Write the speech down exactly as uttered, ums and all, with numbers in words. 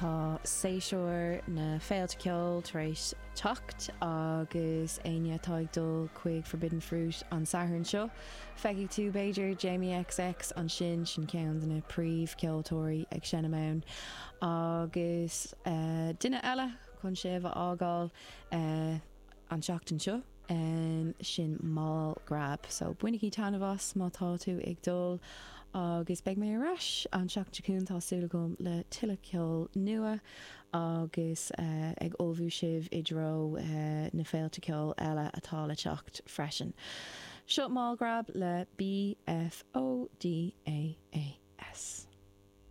Tá séasúr na féilte ceoil tar éis teacht agus éinne atá ag dul chuig Forbidden Fruit an Satharn seo. Feicfidh tú b'fhéidir Jamie X X ansin, sin ceann de na príomhcheoltóirí ag seinm ann agus uh, duine eile chun sibh a fhágáil uh, an seachtain seo. Um, sin Mall Grab, so bainigí taitneamh as má tá tú ag dul agus beidh mé ar ais an seachtain chugainn, tá súil agam, le tuilleadh ceol nua agus uh, ag ullmhú sibh i dtreo uh, na féilte ceoil eile atá le teacht freisin. Seo Mall Grab le B F O D A A S.